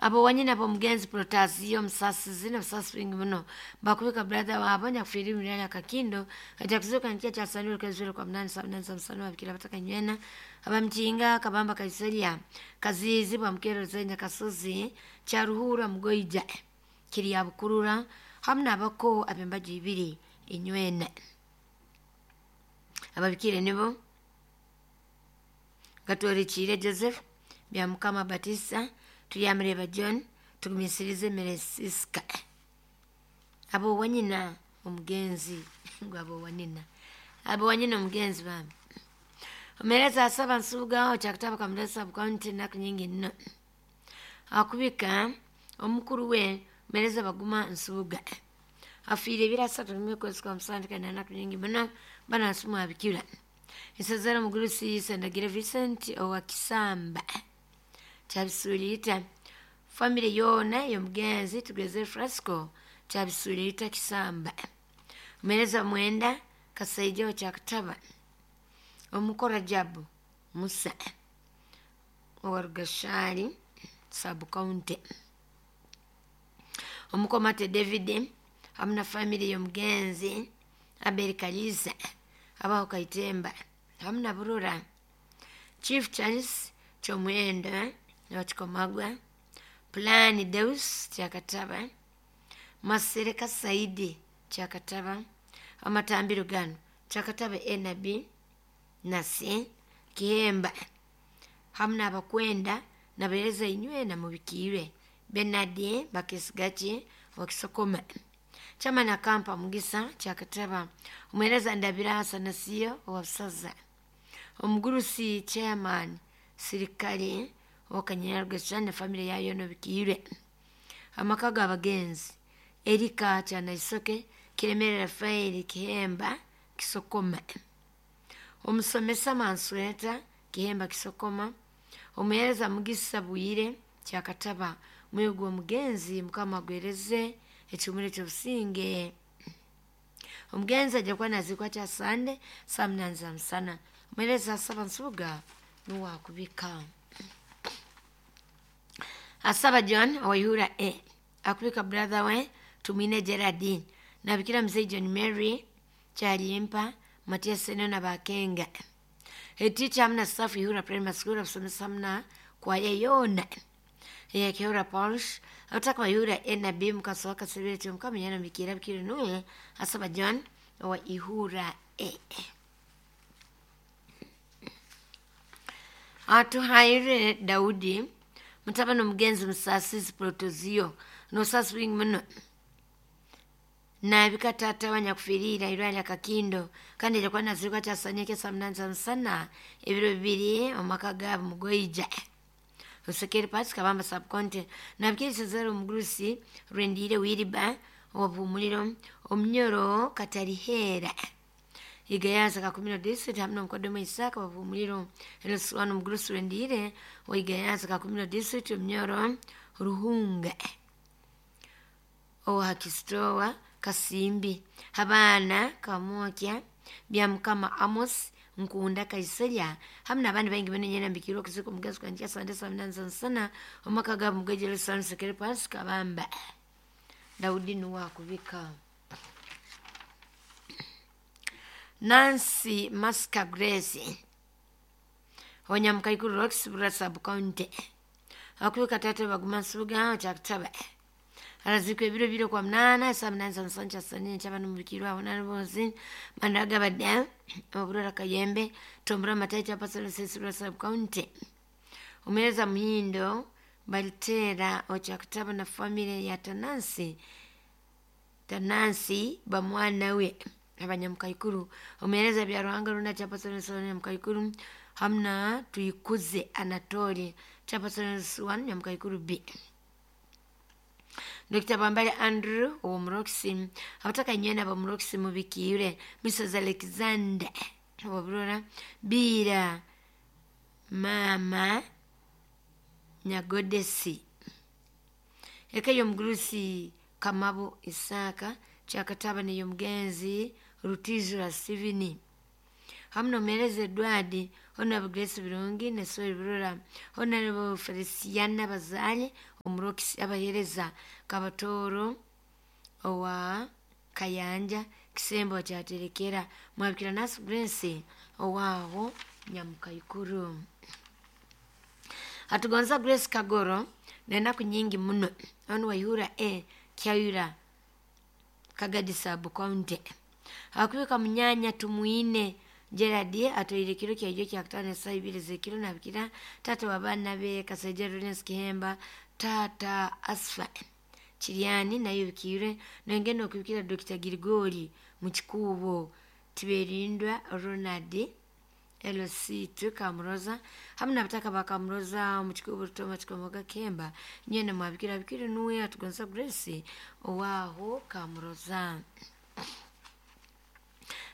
Abowanyina b'omugenzi Protasiyo Musasizi n'obusasi bwingi muno bakubika brother wabo nyakufiire Muriali Akakindo ajja kuzuuka nkya kyasanire okwezi kwa munani saa munani za musana. Babikira batakanywena abamukinga Kabamba Kaiserya Kaziizi Bwamukereza Nyakasozi Kyaruhura Mugoija Kirya Bukurura hamu n'abako ab'embaju ibiri inywena. Ababikire nibo Gatworikiire Joseph Byamukama Batista Turyamureba John Tugumisirize Meresiska. Abowanyina omugenzi ngu abowanyina abowanyina omugenzi bambi omereza asaba Nsubuga okyakutaba Kamulasa County ennaku nyingi nno akubika omukulu we Mereza Baguma Nsubuga afiire ebiro 31 kwezi kwa musanju kandi ennaku nyingi muno banansimu abikira Isazara Mugurusi Sendagire Vincent owa Kisamba Kyabisuliita famire yoona ey'omugenzi Tugeze Frasco Kyabisuliita Kisamba. Omereza Mwenda Kasaija wa Kyakutaba Omukora Jabu Musa owa Rugashari Sub County. Omukomate David hamu na famire y'omugenzi Abel Kaliza abaho Kaitemba hamu na Burura. Chief Charles Kyomwenda Wakikomagwa Pulani Deus Kyakataba Masereka Saidi Kyakataba amatambiro gano Kyakataba Enabi Nasi Kihemba hamu n'abakwenda nabereza inywena mubikiire Bernard Bakesigaki Wakisokoma Chama na Kampa Mugisa Kyakataba Omwereza Ndabira Asanasiyo owa Busaza Omugurusi Chairman Sirikali Owakanyarugesa ne famire yayo nobikiire. Amaka g'abagenzi Erika Kyanaisoke Kiremere Rafaeli Kihemba Kisokoma Omusomesa Mansweta Kihemba Kisokoma Omuhereza Mugisa Bwire Kyakataba mwoyo gw'omugenzi Mukama agwereze ekihumuro ekyobusinge. Omugenzi ajja kuba naziikwa Kyasande saa munani za musana. Omuhereza Asaba Nsubuga nuwe akubika. Asaba John Owaihura A akubika brother we Tumwine Gerard nabikira mzee John Mary Kyalimpa Matias Seno na Bakenga eticha hamna staff Ihura Primary School abasomesa hamna kwaya yoona eyakihura Parish abataka Bayihura NB mukaso kasebere kyomukama yana mikira bikire nuwe Asaba John owa Ihura A. Atuhaire Daudi mutabani omugenzi Musasizi Protozio nosasi bwingi muno nabika tata wanyakufiirira irwali Akakindo kandi aja kuba nazirwa kyasanyeke saa munani za musana ebiro bibiri omu maka gaabo Mugoija Osekere Pasi Kabamba Subcounty. Nabikira omugurusi Rwendiire Wiriba owabuhumuliro Omunyoro Katarihera Igayaza Kakumiro District hamu n'omukoddomu Isaka wabuhumuliro Eluswano omugurusi Rwendiire wa Igayaza Kakumiro District Omunyoro Ruhunga owa Hakisitowa Kasimbi abaana Kamwokya Byamukama Amos Nkunda Kaiserya hamu n'abandi baingi muno nyena mbikirwe okuziika omugenzi kwa Sande saa munani za musana omumaka gaabo Mugoija Lusano Sekere Pasi Kabamba. Daudi nuwe akubika. Nancy Maska Grace Onyamukaikuru Roxy Bura Sub County akubika tata Baguma Nsubuga Kyakutaba arazikwa ebiro bibiri kwa munana saa munani za musana kyasanye nkyabana mubikirwe aho nalubonzi managabadde oburora Kayembe Tombura Matayi Kyapasoro Sesibura Sub County. Omuhereza Muhindo Baliteera Okyakutaba na famire ya Tanansi Tanansi bamwana we abanyamukaikuru omuhereza Byaruhanga Runa Kyapasoro Nyamukaikuru hamu na Tuyikuze Anatoli Kyapasoro Nyamukaikuru B. Dr. Bambale Andrew ow'omuroxy abataka nywena ab'omuroxy mubikiire Mrs. Alexander owaburora Biira Maama Nyagodesi eka y'omugurusi Kamabo Isaka Kyakataba n'ey'omugenzi Rutijura Stephen hamu n'omuhereza Edward Honorable Grace Birungi ne Soy Burora Honorable Feliciana Bazale. Omurokisi abahereza Kabatoro owa Kayanja Kisembo kyaterekera mwabikira Nasi Grace owaaho Nyamukaikuru. Atugonza Grace Kagoro nenaku nyingi muno onu Waihura e Kyayura Kagadi Sub County. Akubika munyanya Tumwine Gerard atwaire kiro kyaijo kyakutano esaa ibiri z'ekiro nabikira taata w'abaana be Kasaija Lawrence Kihemba, taata Asfa Kiryani nayo bikiirwe nongenda okubikira Dr. Girigori Mukikuubo Tiberindwa Ronald LC2 Kamuroza hamu n'abataka ba Kamuroza Mukikuubo Rutoma Kikomoga Kihemba nyene mwabikira bikire nuwe atugonza Grace owaaho Kamuroza.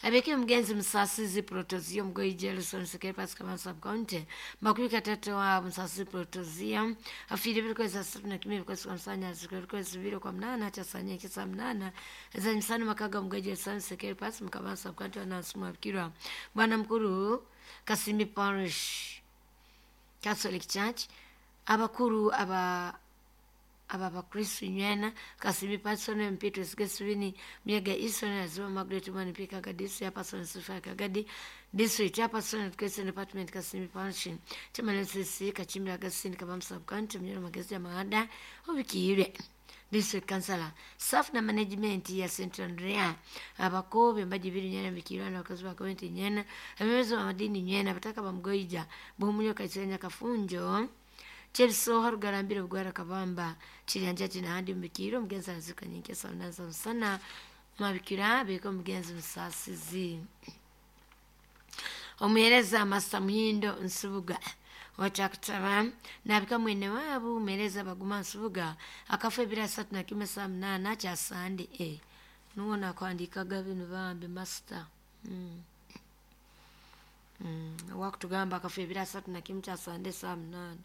Abeke mugenzi Musasizi Protozia Mgoyi Jelson Sekere Pascal Sub County makumi katatu wa Musasizi Protozia afiri biri 31 kwezi kwa msanya kwezi 2 kwa 8 cha sanya kisa 8 za msana makaga Mgoyi Jelson Sekere Pascal Mkabasa Sub County na Sumabikirwa Bwana Mkuru Kasimi Parish Catholic Church abakuru aba abakristu nywena Kasimi Patson Mpito Sigeswini Miega Easton Aziwa Margaret Mani Pika Kagadi ya Patson Sifa Kagadi District ya Patson Education Department Kasimi Parish Chama CC Kachimbira Gasini Kabam Sub County Mnyoro Magezi ya Mahada Obikiire District Councilor Staff na Management ya St. Andrea abakobe mbaji biri nyena bikirwa na wakazi wa kaunti nyena abemezo wa madini nyena bataka bamgoija bumunyo kaisenya kafunjo Chebisoha rugarambire bugwara kabamba chiryanja chinahandi mbikiro mugenzi azuka nyingi sana sana mabikira biko mugenzi Musasizi. Omuhereza Masa Muhindo Nsubuga wakyakutaba nabika mwene waabo muhereza Baguma Nsubuga akafa ebiro 31 saa 8 kya Sande e nuwo nakwandikaga bino bambi masita wakutugamba akafa ebiro 31 kya Sande saa 8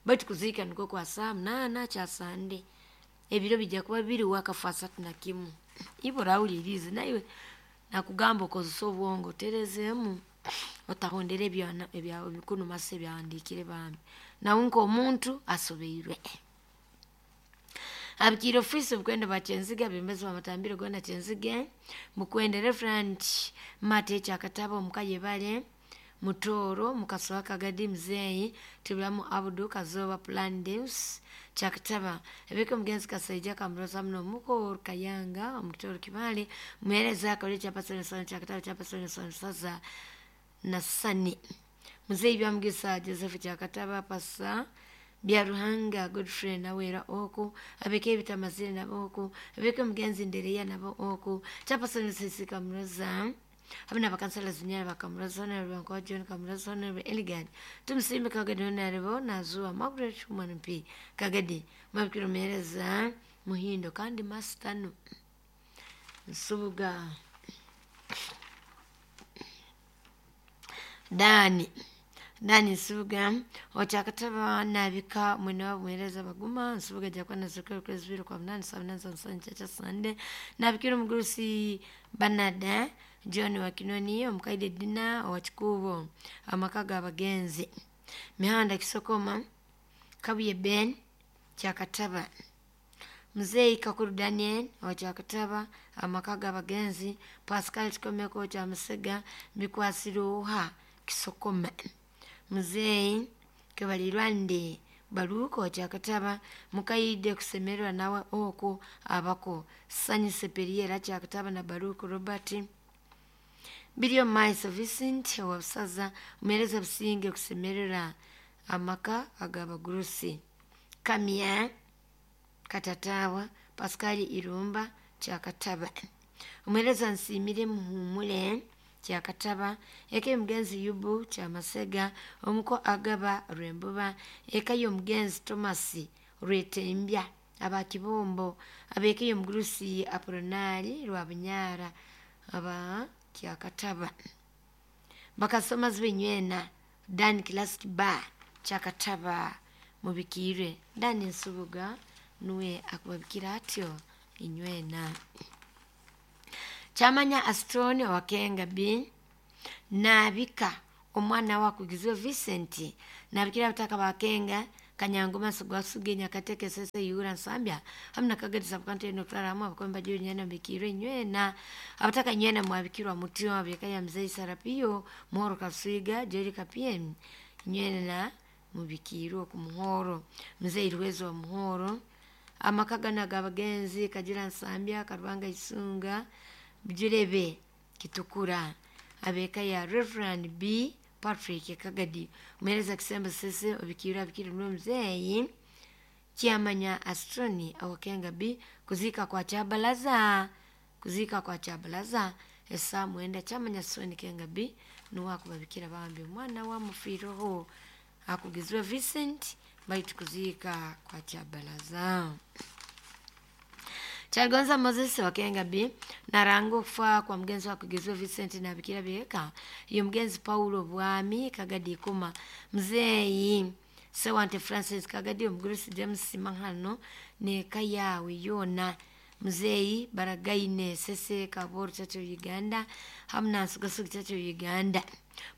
baitu kuziika nikwo kwa saa 8 kya Sande ebiro bijja kuba biri wakafa 31 ibo rawulirize naiwe nakugamba okozesa obwongo oterezeemu otahondera ebyana ebyawe bikunu mase byawandiikire bambi nawe nk'omuntu asobeirwe. Abikire ofisi bukwenda ba Kyenzige abembezi bamatambire gona Kyenzige mukwende Reverend Mate Kyakataba omukayebale Mutoro Mukasowa Kagadi Mzeyi Tibulamu Abudu Kazoba Plan Deus Kyakataba ebiko mugenzi Kasaija Kamuroza muno muko Kayanga omukitoro Kibale muhereza akole kyapasoni Kyakataba kyapasoni saza na Sani Muzeyi Byamugisa Joseph Kyakataba pasa Byaruhanga Godfrey nawera oku abeke bitamazire nabo oku abeke mugenzi Ndereya nabo oku kyapasoni Sisi Kamuroza abana bakansala zinyara bakamuroza na Rwanko John Kamuroza na Elegant tumusimbe Kagadi onarebo nazuwa Margaret Human P Kagadi mabikiro mereza Muhindo kandi Mastano Nsubuga Dani Nsubuga okyakataba nabika mwene wabo muhereza Baguma Nsubuga jakwana zokero kwezi 2 kwa 8 saa 8 za cha Sande nabikiro mugurusi Banada John Wakinoni omukaide Dina owakikubo amaka g'abagenzi Mihanda Kisokoma Kabuye Ben Kyakataba Mzee Kakuru Daniel owakyakataba amaka g'abagenzi Pascal Kikomeko kya Musega Bikwasiruha Kisokoma Mzee Kebalirwande Baruko Kyakataba mukaide kusemererwa nawe oko abako Sanyi Seperiera Kyakataba na Baruko Robert Bilio Maiso Vincent wabusaza mumereza businge kusemerera amaka ag'abagurusi Kamya Katatawa Pascal Irumba Kyakataba umuhereza Nsimire Muhumule Kyakataba eka y'omugenzi Yubu Kyamasega omuko Agaba Rwembuba eka y'omugenzi Thomas Rwetembya aba Kibombo abeka y'omugurusi Apolonari Rwabunyara aba Kyakataba bakasoma zibenywena Dan Classic Bar Kyakataba mubikire Dani Nsubuga nuwe akubabikira atyo inywena. Chamanya Astroni wakenga B nabika omwana wakugizwe Vincent nabikira bataka bakenga Kanyangoma Sugwasuge Nyakateke Sese Yura Nsambya hamna Kagadi Sabkanto eno kutara hamu abakomba juu nyana mbikirwe nywena abataka nywena mwabikirwa mutio abikaya mzee Sarapio Moro Kasuiga Jerry Kapiem nywena mubikirwe ku muhoro mzee Irwezo wa muhoro amakagana g'abagenzi Kagira Nsambya Karubanga Isunga Bijurebe Kitukura abeka ya Reverend B Patrick Kagadi umereza kisembo sese obikirwa abikirwa n'omuzeeyi Kyamanya Astroni awakenga B kuzika kwa Kyabalaza kuzika kwa Kyabalaza esa mwenda Kyamanya Astroni Kenga B nuwakubabikira bambi omwana wa mufiireho akugizwe Vincent baitu kuzika kwa Kyabalaza. Kyaligonza Moses wakenga B naranga okufa kwa mugenzi wakugizwe Vincent nabikira byeka iyo mugenzi Paulo Bwami Kagadi Ikuma mzeeyi Sewante Francis Kagadi omugurusi James Mahano neka yawe yona mzeeyi Baragaine Sese Kaboru Church of Uganda hamna Nsugasug Church of Uganda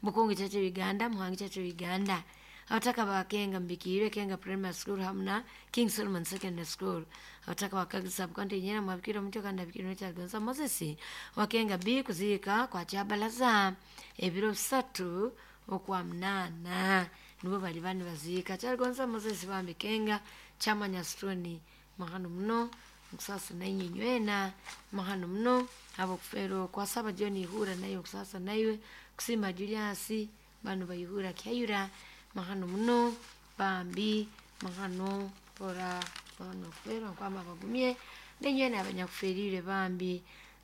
Bukungu Church of Uganda Muhangi Church of Uganda abataka bakenga mbikirwe Kenga Primary School hamna King Solomon Secondary School abataka bakagisa bukanti nyena mwabikira omutyo kandi abikirwe Kyaligonza Moses wakenga B kuzika kwa Kyabalaza ebiro bisatu okwa munana nibo bali bani baziika Kyaligonza Moses bambi Kenga Kyamanya Stone mahano muno nkusasa nainye nywena mahano muno abokufeerwa kwasaba John Ihura naye okusasa naiwe kusima Julius bano bayihura Kyayura mahano muno bambi mahano pora bano kufeerwa nkwama bagumye nenywena abanyakufeerire bambi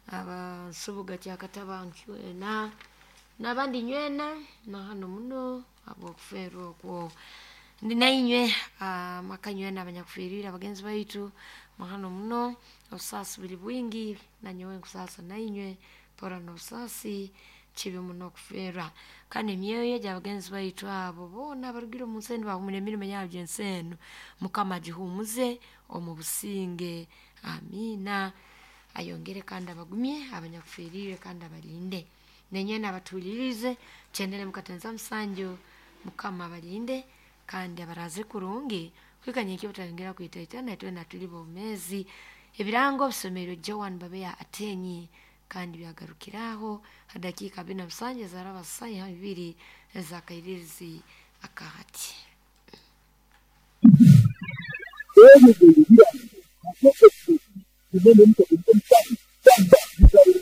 abansubuga Kyakataba nkwena nabandi nywena mahano muno abokufeerwa okwo ndi nainywe amaka nywena abanyakufiirire abagenzi baitu mahano muno obusaasi buli bwingi nanyowe nkusaasa nainywe pora n'obusaasi kibi muno okufiirwa kandi emyoyo gy'abagenzi baitu abo boona abarugire omu nsi enu bahumura emirimo yaabo gy'ensi enu Mukama agihumuze omu businge amiina ayongere kandi abagumye abanyakufiirire kandi abalinde nenywena abatuhulirize kyendere mukatenza musanju Mukama abalinde kandi abaraze kurungi kwikanya ekyo butayongera kwitaitana itwena tuli bomezi ebirango bisomerwe Joan Babeya Atenyi kandi byagarukiraho hadakiika 47 zaraba saha 2 ezakairirizi akahati.